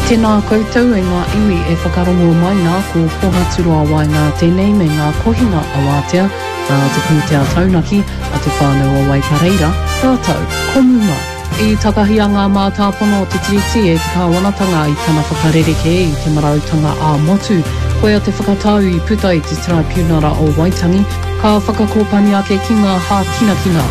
Tēnā koutou e ngā iwi e whakarongo mai nā, ko Pohaturoa Waenga tēnei me ngā kohinga awātea nā te pūtea taunaki a Te Whānau o Waipareira rātou ko Muma. I takahia ngā mātāpono o te Tiriti e te kāwanatanga i tana whakarerekē i te marautanga ā-motu. Koia te whakatau i puta i te Taraipiunara o Waitangi, ka whakakōpani ake ki ngā hākinakina.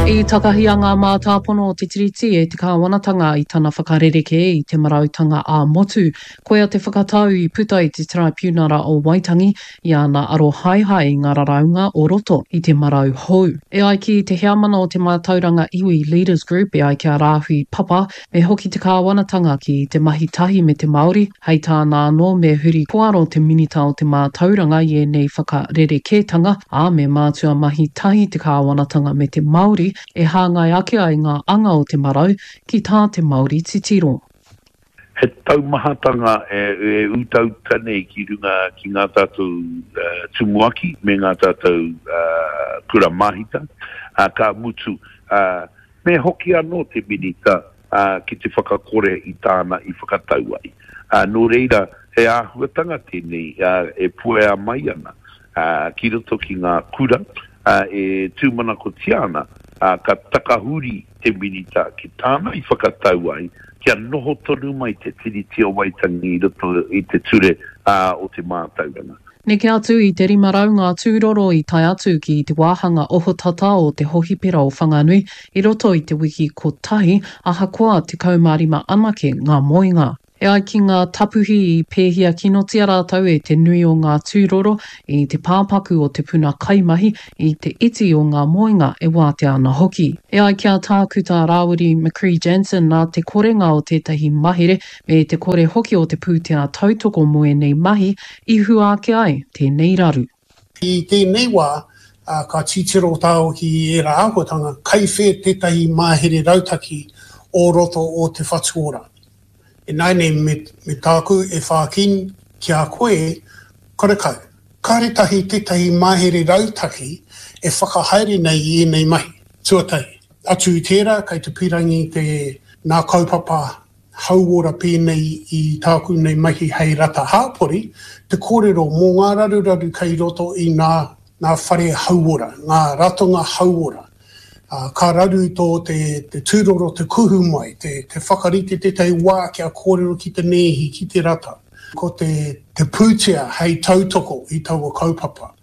I takahia ngā mātāpono o te Tiriti e te kāwanatanga i tana whakarerekē i te marautanga ā-motu. Koia te whakatau i puta i te Taraipiunara o Waitangi i ana arohaehae i ngā raraunga o roto i te marau hou. E ai ki te heamana o te Mātauranga Iwi Leaders Group e ai ki a Rāhui Papa, me hoki te kāwanatanga ki te mahi tahi me te Māori, hei tāna anō me huri kōaro te Minita o te Mātauranga i ēnei whakarerekētanga, ā, me mātua mahi tahi te kāwanatanga me te Māori e hāngai ake ai ngā anga o te marau ki tā te Māori titiro. He taumahatanga e utauta nei ki runga ki ngā tātou tumuaki me ngā tātou kura māhita, ka mutu, me hoki anō te Minita ki te whakakore i tāna i whakatau ai. Nō reira, he āhuatanga tēnei e puea mai ana ki roto ki ngā kura e tūmanakotia ana ka takahuri te Minita ki tāna i whakatau ai kia noho tonu mai te Tiriti o Waitangi i roto i te ture o te mātauranga. Neke atu i te 500 ngā tūroro i tae atu ki te wāhanga ohotata o te hohipera o Whanganui i roto i te wiki kotahi, ahakoa 15 anake ngā moenga. E ai ki ngā tapuhi i pēhia kinotia rātou e te nui o ngā tūroro i te pāpaku o te puna kaimahi, i te iti o ngā moenga e wātea ana hoki. E ai ki a Tākuta Rāwiri McCree-Jansen nā te korenga o tētahi mahere me te kore hoki o te pūtea tautoko mō ēnei mahi i hua ake ai tēnei raru. I tēnei wā, ka titiro tāua ki ērā āhuatanga, kai whē tētahi mahere rautaki o roto o Te Whatu Ora. Ināianei me, me tāku e whākin ki a koe, karekau. Kāre tahi tētahi mahere rautaki e whakahaere nei i ēnei mahi. Tuatahi, atu i tērā, kei te pīrangi te, nā kaupapa hauora pēnei i tāku nei mahi hei rata hāpori, te kōrero mō ngā raruraru kei roto i nā, ngā whare hauora, ngā ratonga hauora. Ā, ka raru tō te, te tūroro te kuhu mai, te, te whakarite tētahi wā kia kōrero ki te nēhi, ki te rata. Ko te, te pūtea hei tautoko i taua kaupapa.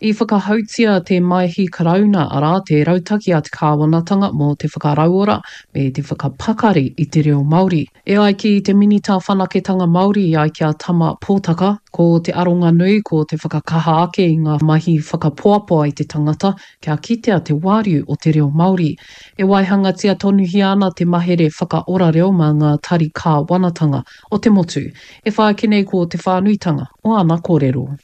I whakahautia te Maihi Karauna, arā, te rautaki a te kāwanatanga mō te whakarauora me te whakapakari i te reo Māori. E ai ki te Minita Whanaketanga Māori i ai ki a Tama Potaka, ko te aronga nui ko te whakakaha ake i ngā mahi whakapoapoa i te tangata kia kitea te wāriu o te reo Māori. E waihangatia tonuhia ana te mahere whakaora reo mā ngā tari kāwanatanga o te motu. E whai ake nei ko te whānuitanga o ana kōrero.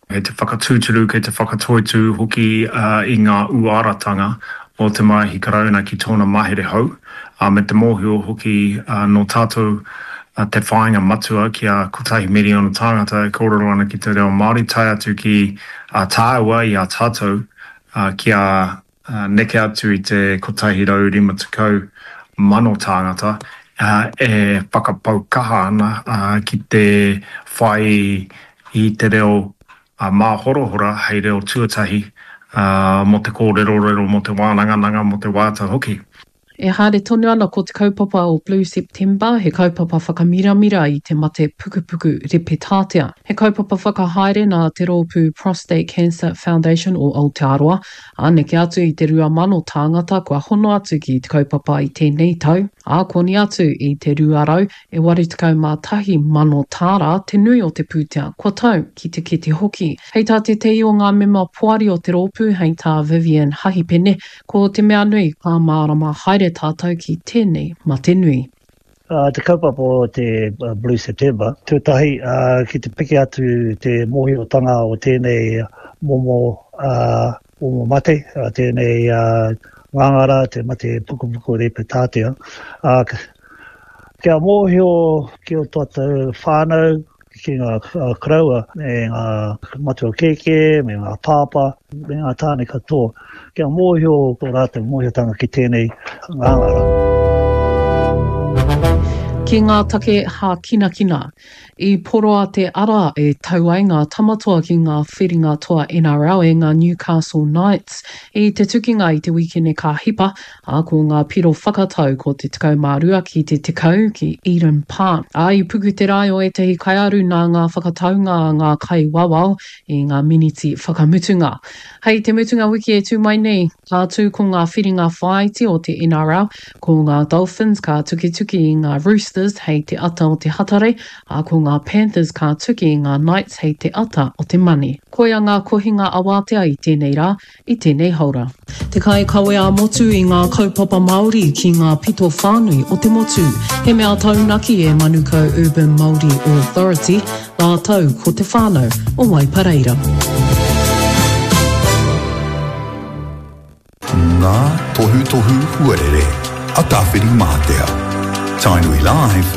Kei te whakatūturu, kei te whakatoitū hoki i ngā uaratanga o te Maihi Karauna ki tōna mahere hou, ā, me te mōhio hoki nō tātou te whāinga matua kia kotahi miriona tāngata e kōrero ana ki te reo Māori, tae atu ki a tāua i a tātou kia neke atu i te 150,000 tāngata e whakapau kaha ana ki te whai i te reo māhorahora hei reo tuatahi mō te kōrerorero, mō te wānangananga, mō te waiata hoki. E haere tonu ana ko te kaupapa o Blue September, he kaupapa whakamiramira i te mate pukupuku repetātea. He kaupapa whakahaere nā te rōpū Prostate Cancer Foundation o Aotearoa, ā, neke atu i te 2,000 tāngata kua hono atu ki te kaupapa i tēnei tau, ā, koni atu i te 200 e 81,000 tāra te nui o te pūtea kua tau ki te kete hoki. Hei tā tētehi o ngā mema poari o te rōpū, hei tā Vivian Hahipene, Ko te mea nui, ka mārama haere tātou ki tēnei mate nui. Te kaupapa o te Blue September, tuatahi ki te piki atu te mōhiotanga o tēnei momo momo mate, tēnei ngāngara, te mate pukupuku repetātea. Kia mōhio ki o tātou whānau, ki ngā koroua me ngā matua kēkē, me ngā pāpā, me ngā tāne katoa, kia mōhio tō rātou mōhiotanga ki tēnei ngāngara. Ki ngā take hākinakina. I poroa te ara e tau ai ngā tamatoa ki ngā whiringa toa NRL e ngā Newcastle Knights i te tukinga i te wīkene ka hipa, ā, ko ngā piro whakatau ko te 12 ki te 10 ki Eden Park. Ā, i puku te rae o ētahi kaiaru nā ngā whakataunga a ngā kaiwawao i ngā miniti whakamutunga. Hei te mutunga wiki e tū mai nei, ka tū ko ngā whiringa whāiti o te NRL, ko ngā Dolphins ka tukituki i ngā Roosters hei te ata o te Hatarei, ā, ko ngā Panthers ka tuki i ngā Knights hei te ata o te Mane. Koia ngā kohinga awātea i tēnei rā, i tēnei haora. Te kaikawe ā-motu i ngā kaupapa Māori ki ngā pito whānui o te motu. He mea taunaki e Manukau Urban Māori Authority, rātou ko te whānau o Waipareira. Ngā tohutohu huarere a Tāwhirimātea. Tainui Live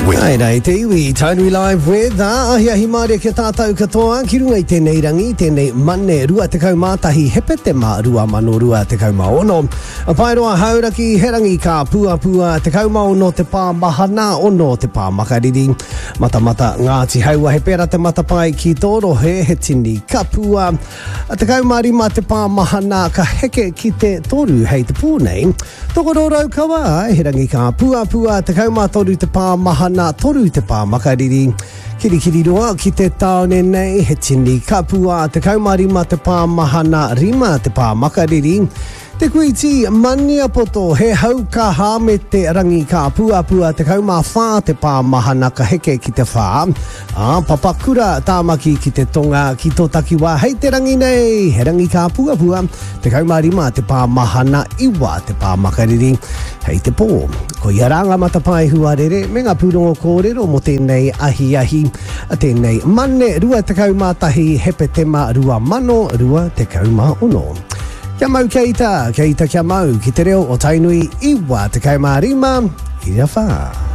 with. Ai rā i te iwi, Tainui Live with, ā, ahiahi mārie ki a tātou katoa, ki runga i tēnei rangi, tēnei Mane 21 Hepetema 2026. Paeroa Hauraki, he rangi ka puapua, 16 te pā mahana, 6 te pā makariri. Matamata Ngāti Haua, he pērā te matapae ki tō rohe, he tini kapua. 15 te pā mahana ka heke ki te toru hei te pō nei. Tokoro Raukawa, he rangi ka puapua, 13 te pā mahana, 3 te pā makariri. Kirikiriroa ki te tāone nei, he tini kapua, 15 te pā mahana, 5 te pā makariri. Te Kuiti, Maniapoto, he hau kaha me te rangi ka puapua, 14 te pā mahana ka heke ki te whā. Ā, Papakura, Tāmaki ki te tonga, ki tō takiwā hei te rangi nei, he rangi ka puapua, 15 te pā mahana, 9 te pā makariri hei te pō. Koia rā ngā matapae huarere me ngā pūrongo kōrero mō tēnei ahiahi, tēnei Mane 21 Hepetema 2026. Kia mau kia ita, kia ita kia mau, ki te reo o Tainui 95, ira whā.